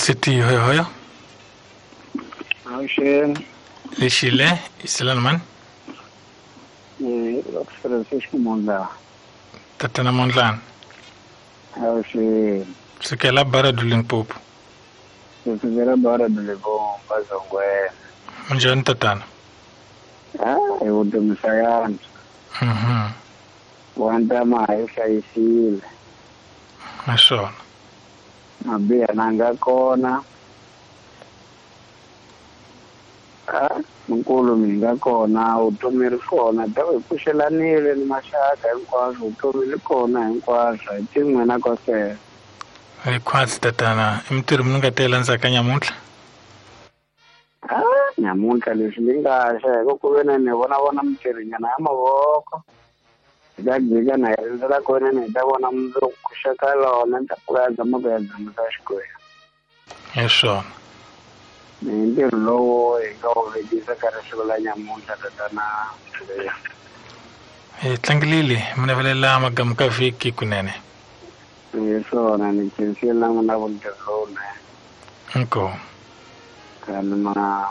City hoyo hoyo. Avuxeni. Lexile isilani mani? Francisco Mondlane. Tatana Mondlane. Avuxeni. Sukela Baradu Limpopo. Sukela Baradu Limpopo Bazongwena. Munjhani tatana? Hi vutomi swa yantswa. Wa ntama hi hlayisile. Naswona mabiha na nga kona. Nkulu mi nga kona, vutomi ri kona, ta hi pfuxelanile ni maxaka hinkwaswo, vutomi ri kona hinkwaswo, hi tin'we na kosela. Hi khwatsi tatana, i mintirho mi nga tela ndzhaka nyamuntlha? Nyamuntlha leswi ni nga xa hi ku ve ni vona vona mintirhonyana ya mavoko. Hi ta jika na hi rindzela ku ve ni hi ta vona mundzuku ku xeka lona ni ta pfuka ya dzama ku ya dzamisa Xikwembu. Hi swona. Hi ntirho lowu hi nga wu vekisa ka risiku la nyamuntlha tatana. Hi tlangelile mi navelela magamu ka vhiki kunene. Hi swona ni khensile na n'wina vu ntirho lowunene. Inkomu. Kani ma